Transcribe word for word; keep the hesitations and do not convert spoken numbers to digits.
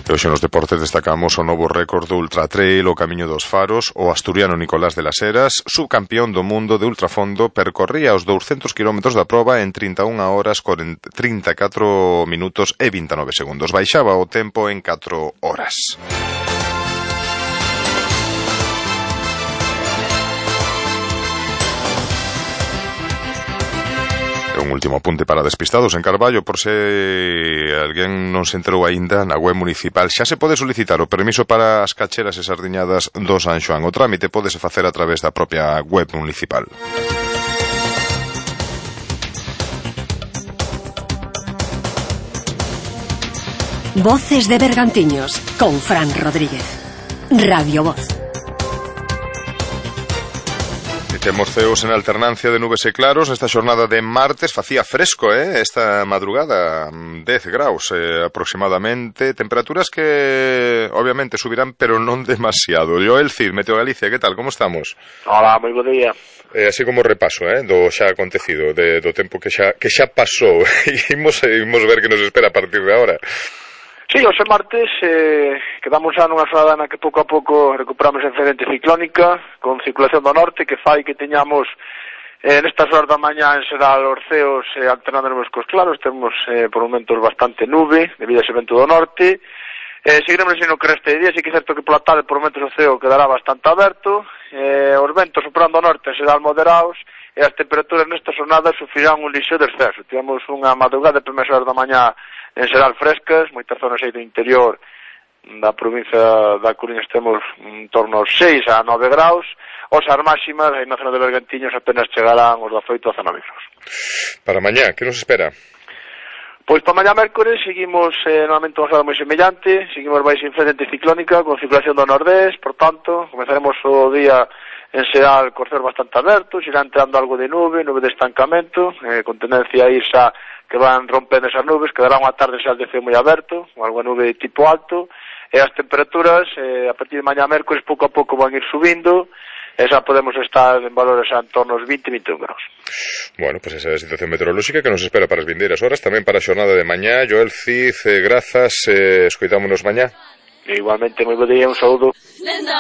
E hoxe nos deportes destacamos o novo récord do Ultra Trail, o Camiño dos Faros. O asturiano Nicolás de las Heras, subcampeón do mundo de ultrafondo, percorría os douscentos kilómetros da proba en trinta e unha horas, trinta e catro minutos e vinte e nove segundos. Baixaba o tempo en catro horas. Un último apunte para despistados en Carballo, por se alguén non se enterou aínda, na web municipal xa se pode solicitar o permiso para as cacheras e sardiñadas do San Xoán. O trámite pódese facer a través da propia web municipal. Voces de Bergantiños con Fran Rodríguez. Radio Voz. Temos ceos en alternancia de nubes e claros nesta xornada de martes. Facía fresco, eh, esta madrugada, dez graus eh, aproximadamente, temperaturas que obviamente subirán, pero non demasiado. Joel Cid, Meteo Galicia, que tal, como estamos? Hola, moi bo día. Eh, así como repaso, eh, do xa acontecido, de, do tempo que xa, que xa pasou, e imos, imos ver que nos espera a partir de agora. Sí, hoxe martes eh, quedamos xa nunha xornada na que pouco a pouco recuperamos a incidente ciclónica con circulación do norte que fai que teñamos eh, nestas horas da mañá en xeral os ceos eh, alternándonos cos claros. Temos eh, por momentos bastante nube debido a ese vento do norte. Eh, seguiremos así no que reste de día, así que é certo que pola tarde por momentos o ceo quedará bastante aberto, eh, os ventos soprando ao norte en xeral moderados e as temperaturas nesta xornada sufrirán un lixo descenso. Tivemos unha madrugada de primeiras horas da mañá en xeral frescas, moitas zonas aí do interior da provincia da Coruña temos en torno aos seis a nove graus, os as máximas aí na zona de Bergantiños apenas chegarán os dezoito a dezanove graus. Para mañá, que nos espera? Pois para mañá mércores seguimos eh, normalmente unha xornada moi semellante, seguimos baixo incidente ciclónica con circulación do nordés, por tanto, comenzaremos o día en xeral cos ceos bastante abertos, irá entrando algo de nube, nube de estancamento, eh, con tendencia a ir xa que van rompendo esas nubes, quedará unha tarde xa de ceo moi aberto, con algo nube de tipo alto, e as temperaturas eh, a partir de mañá mércores pouco a pouco van ir subindo, e xa podemos estar en valores xa en torno aos vinte a vinte e un graus. Bueno, pues esa é a situación meteorolóxica que nos espera para as vindeiras horas, tamén para a xornada de mañá. Joel Cid, eh, grazas, eh, escoitámonos mañá. E igualmente, moi bo día, un saúdo.